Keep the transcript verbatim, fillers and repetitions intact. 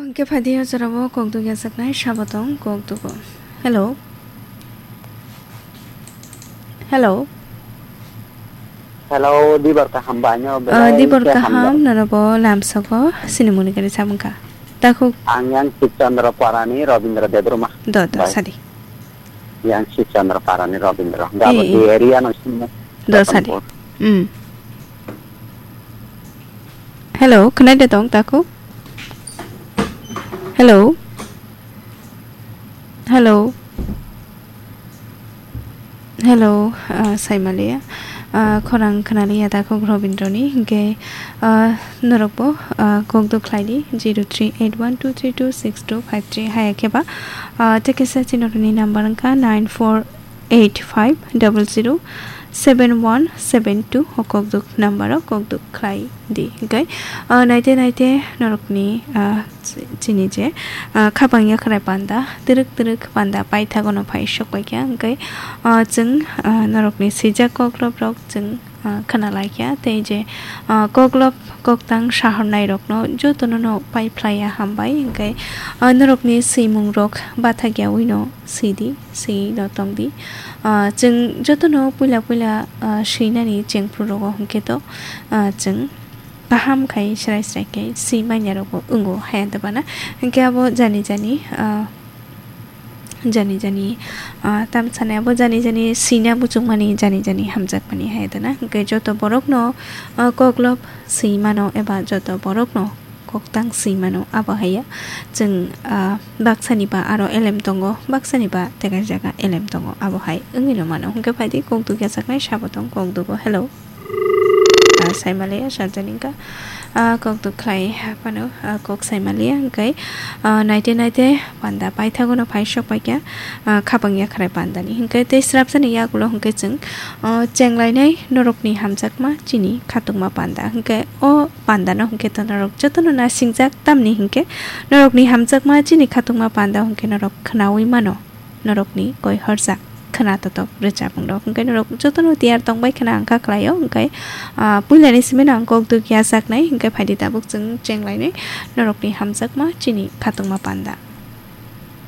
Hwnkhe phaidi o jorao kok dugya jaknai sabo tong kok dugo. Hello. Hello. Hello, dibor kaham ba, ano Ah, belai dibor khe kaham, hamjak. Nono bo lamsogo, sinimuni gari sabungkha. Takhuk. Ang yang Sibchandra Parani, Robindra Debbarma. Do, do, Bai. Sadi. Yang Sibchandra Parani, Robindra. Eh, Gabo eh. Di area no sini. Do, Sadi. Ratanpur. Hmm. Hello, khwnai de tong takhuk? Hello? Hello? Hello, ah, Saimalia. Ah, khorang khwnaliya takhuk Robindroni, hwnkhe, ah, norokbo, ah, kok duk khlaidi, zero three eight one two three two six two five three, haya khe ba, ah, tei kisa chini norokni number wngkha nine four eight five double zero seven one seven two, o kok duk number o kok duk khlai di. Hwnkhe, ah, naite naite norokni, ah, chini je, ah, khapang yakhrai panda, twrwk twrwk panda paithago no phai sok pai kha. Hwnkhe, ah, chwng, ah, norokni swijak koklop rok chwng, ah, khna lai kha. Tei je, ah, koklop koktang sahornai rokno jotono no pai phlai ya hambai. Hwnkhe, ah, norokni swimung rok bathak ya wi no swi di, swi no tong di. Ah, chwng jotono puila puila, ah, swinani chengphru rogo hwnkhe to, ah, chwng kaham khai srai srai khe swi manya rogo wngo haya debana. Hwnkhe abo jani jani, ah, jani jani, ah, tam sanai abo jani jani swina buchukmani jani jani hamjakmani haya dana. Hwnkhe joto borokno, ah, koklop swi mano eba joto borokno koktang swi mano, abo hai ya. Chwng, ah, baksani ba aro elem tongo, baksani ba tekaijak elem tongo, abo hai wngwi no mano. Hwnkhe phaidi kok duk yajaknai sabo tong kok dugo. Hello. Ah, Saimalia, Sarjaningka. Ah, kok duk khlai phano, ah, kok Saimalia, hwnkhe, ah, naite naite panda paithago no phai sok pai kha, ah, khapang yakhrai pandani. Hwnkhe tei srapjani yagulo hwnkhe chwng, ah, chenglainai norokni hamjakma chini khatungma panda. Hwnkhe o pandano hwnkhe to norok jotono nasingjak, tamni hwnkhe norokni hamjakma chini khatungma panda hwnkhe norok khnaui mano, norokni koi horjak khna totok rwchapmung rok. Hwnkhe norok jotono tiyar tongbai khna ang kha khlaio, hwnkhe, ah, puilani simi no ang kok duk yajaknai, hwnkhe phaidi tabuk chwng chenglainai norokni hamjakma chini khatungma panda.